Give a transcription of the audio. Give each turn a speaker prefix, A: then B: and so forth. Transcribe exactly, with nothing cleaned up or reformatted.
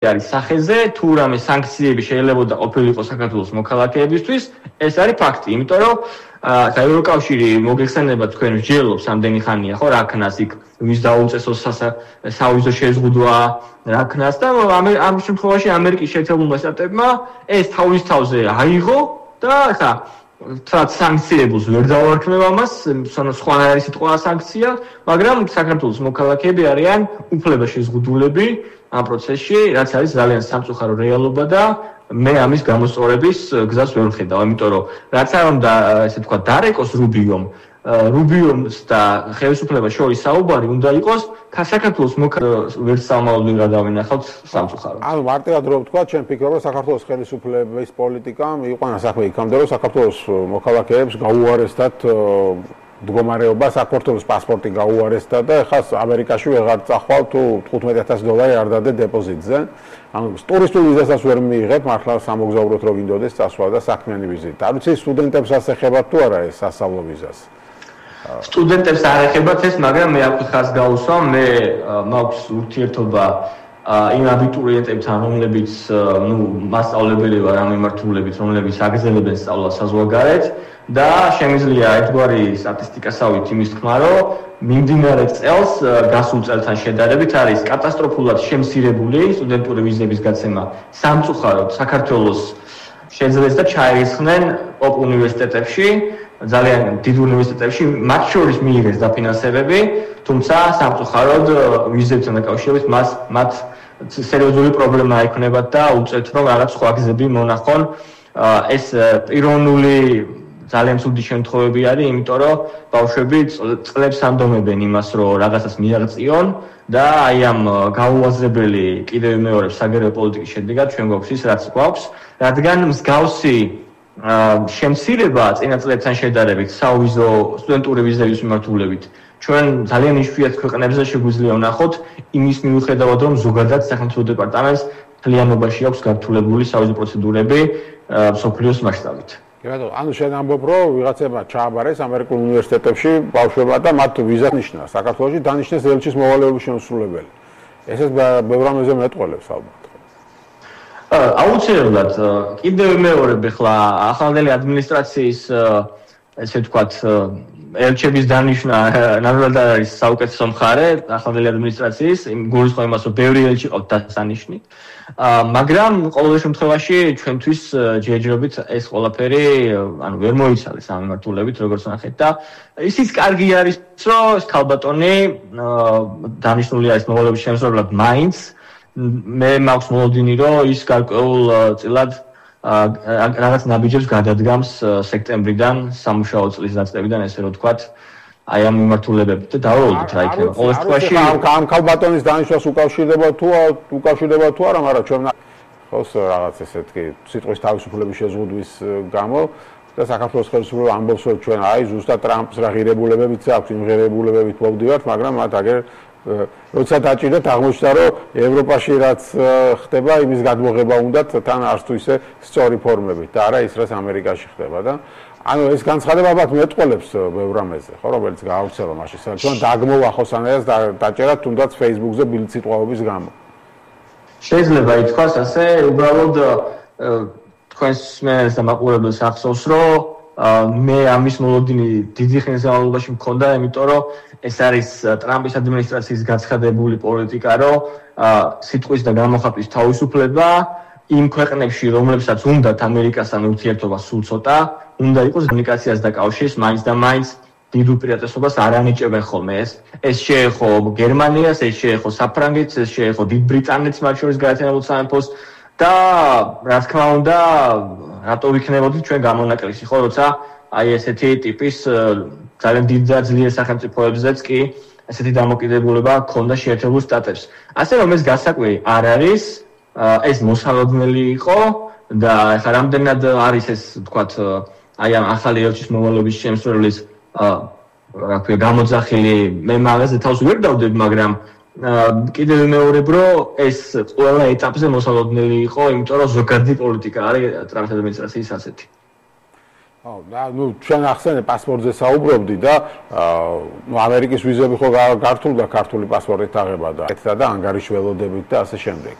A: არის სახეზე, თუ რამე სანქციები შეიძლება ყოფილიყო საქართველოს მოქალაქეებისთვის, ეს არის ფაქტი, იმიტომ რომ ევროკავშირი მოგეხსენება თქვენ მსჯელობს ამდენი ხანია, ხო, რა ქნას იქ ვის დაუწესო სავიზო შეზღუდვა, რა ქნას და ამ შემთხვევაში ამერიკის შეერთებულმა შტატებმა ეს თავის თავზე აიღო და ხა რაც სანქციებს ვერ დავარქმევ ამას, სხვანაირი სიტყვა სანქცია, მაგრამ საქართველოს მოქალაქეები არიან უფლება შეზღუდულები ამ პროცესში, რაც არის ძალიან სამწუხარო რეალობა და მე ამის გამოსწორების გზას ვერ ვხედავ, იმიტომ რომ რაც არ უნდა, ესე თქვა, დარეკოს რუბიომ, რუბიომს და ხელისუფლებას შორის საუბარი უნდა იყოს, საქართველოს მოქალაქეებს ვერ სამალოდ ვერ გადავინახავთ სამწუხარო.
B: ანუ მარტივად რო ვთქვა, ჩვენ ფიქრობ, რომ საქართველოს ხელისუფლების პოლიტიკამ იყვანა საქმე იქამდე, რომ საქართველოს მოქალაქეებს გაუარესდათ მდგომარეობა, საქართველოს პასპორტი გაუარესდა და ხას ამერიკაში ვეღარ წახვალ თუ თხუთმეტი ათასი დოლარი არ დადე დეპოზიტზე. ანუ ტურისტულ ვიზასაც ვერ მიიღებ, მართლა სამოგზაუროდ რო გინდოდეს წასვლა და საქმიანი ვიზიტი. არ ვიცი სტუდენტებს ასეხებათ თუ არა ეს სასწავლო ვიზას.
A: სტუდენტებს არ ეხებათ ეს, მაგრამ მე აქ ხას გავუსვამ, მე მაქვს ურთიერთობა იმ აბიტურიენტებთან, რომლებიც ნუ მასწავლებელი ვარ ამ მიმართულებით, რომლებიც აგრძელებენ სწავლას საზღვარგარეთ და შემიძლია ერთგვარი სტატისტიკასავით იმის თქმა, რომ მიმდინარე წელს გასულ წელთან შედარებით არის კატასტროფულად შემცირებული სტუდენტური ვიზების გაცემა სამწუხაროდ საქართველოს შეძლეს და ჩაირიცხნენ ოპ უნივერსიტეტებში, ძალიან დიდ უნივერსიტეტებში, მათ შორის მიიღეს დაფინანსებები, თუმცა სამწუხაროდ ვიზებთან დაკავშირებით მას მათ სერიოზული პრობლემა ექნებათ და უწევთ რომ რაღაც სხვა გზები მონახონ. ეს პიროვნული ძალიან ცუდი შემთხვევები არის, იმიტომ რომ ბავშვები წლებს ამდომებენ იმას, რომ რაღაცას მიაღწიონ და აი ამ გაუაზრებელი კიდევ მეორე საგარეო პოლიტიკის შედეგად ჩვენ გვაქვს ის, რაც გვაქვს, რადგან მსგავსი შემცირება წინა წლებთან შედარებით საუვიზო სტუდენტური ვიზების მიმართულებით ჩვენ ძალიან იშვიათ ქვეყნებზე შეგვიძლია ვნახოთ იმის მიუხედავად რომ ზოგადად სახელმწიფო დეპარტამენტს მთლიანობაში აქვს გართულებული საუვიზო პროცედურები მსოფლიოს მასშტაბით.
B: კი ბატონო, ანუ შენ ამბობ რომ ვიღაცებმა ჩააბარეს ამერიკულ უნივერსიტეტებში ბავშვებმა და მათ ვიზა ნიშნა. საქართველოში დანიშნეს ელჩის მოვალეობის შემსრულებელი. ესეც ბევრ რამეზე მეტყველებს ალბათ.
A: აუცილებლად კიდევ მეორე ხლა ახალგაზრდა ადმინისტრაციის ესე ვთქვათ ელჩების დანიშვნა ნამდვილად არის საუკეთესო მხარე ახალგაზრდა ადმინისტრაციის იმ გულისხმობს იმას რომ ბევრი ელჩი ყავთ დასანიშნი მაგრამ ყოველ შემთხვევაში ჩვენთვის ჯერჯერობით ეს ყველაფერი ანუ ვერ მოიცალეს ამ მიმართულებით როგორც ნახეთ და ისიც კარგი არის რომ ქალბატონი დანიშნული არის მოვალეობის შემსრულებლად მაინც მე მაქვს მოლოდინი რომ ის გარკვეულ წილად რაღაც ნაბიჯებს გადადგამს სექტემბრიდან სამუშაო წლის დაწყებიდან ესე რომ ვთქვათ აი ამ მიმართულებებით და დავალოთ რა იქნება ყოველ შემთხვევაში
B: ამ ქალბატონის დანიშნვას უკავშირდება თუ უკავშირდება თუ არა მაგრამ ჩვენ ხოს რაღაც ესეთი სიტყვის თავისუფლების შეზღუდვის გამო და საქართველოს ხელისუფლება ამბობს რომ ჩვენ აი ზუსტად ტრამპს რა ღირებულებებიც აქვს იმ ღირებულებებით მოვდივართ მაგრამ მათ აგერ როცა დაჭირდათ აღმოჩნდა რომ ევროპაში რაც ხდება იმის გადმოღება უნდათ თან არც თუ ისე სწორი ფორმებით და არა ის რაც ამერიკაში ხდება და ანუ ეს განცხადება ალბათ მეტყველებს ბევრ რამეზე ხო რომელიც გაავრცელა მაშინ ჩვენ დაგმოვა ხოსანაირად დაჭერა თუნდაც Facebook-ზე ბილდსიტყვაობის გამო
A: შეიძლება ითქვას ასე უბრალოდ თქვენს მენელს და მაყურებელს ახსოვს რომ მე ამის მოლოდინი დიდი ხნის განმავლობაში მქონდა იმიტომ რომ ეს არის ტრამპის ადმინისტრაციის გაცხადებული პოლიტიკა, რომ სიტყვის და გამოხატვის თავისუფლება იმ ქვეყნებში, რომლებსაც უნდათ ამერიკასთან ურთიერთობა სულ ცოტა, უნდა იყოს კომუნიკაციას და კავშირს მაინც და მაინც დიდ უპირატესობას არ ანიჭებენ ხოლმე ეს. ეს შეეხო გერმანიას, ეს შეეხო საფრანგეთს, ეს შეეხო დიდ ბრიტანეთს, მათ შორის გაერთიანებულ სამეფოს და რა თქმა უნდა, რატო ვიქნებოდით ჩვენ გამონაკლისი, ხო, როცა აი ესეთი ტიპის ძალიან დიდ და ძლიერ სახელმწიფოებზეც კი ესეთი დამოკიდებულება ჰქონდა შეერთებულ შტატებს. ასე რომ ეს გასაკვირი არ არის, ეს მოსალოდნელი იყო და ახლა რამდენად არის ეს ვთქვათ აი ამ ახალი ელჩის მოვალეობის შემსრულებლის რა ქვია გამოძახილი მე მაგაზე თავს ვერ დავდებ, მაგრამ კიდევ ვიმეორებ რომ ეს ყველა ეტაპზე მოსალოდნელი იყო, იმიტომ რომ ზოგადი პოლიტიკა არის ტრამპის ადმინისტრაციის ასეთი.
B: აუ და ნუ ჩვენ ახსენე პასპორტზე საუბრობდი და ნუ ამერიკის ვიზები ხო გართულდა ქართული პასპორტით აღება და ეთდა და ანგარიშველოდებით და ასე შემდეგ.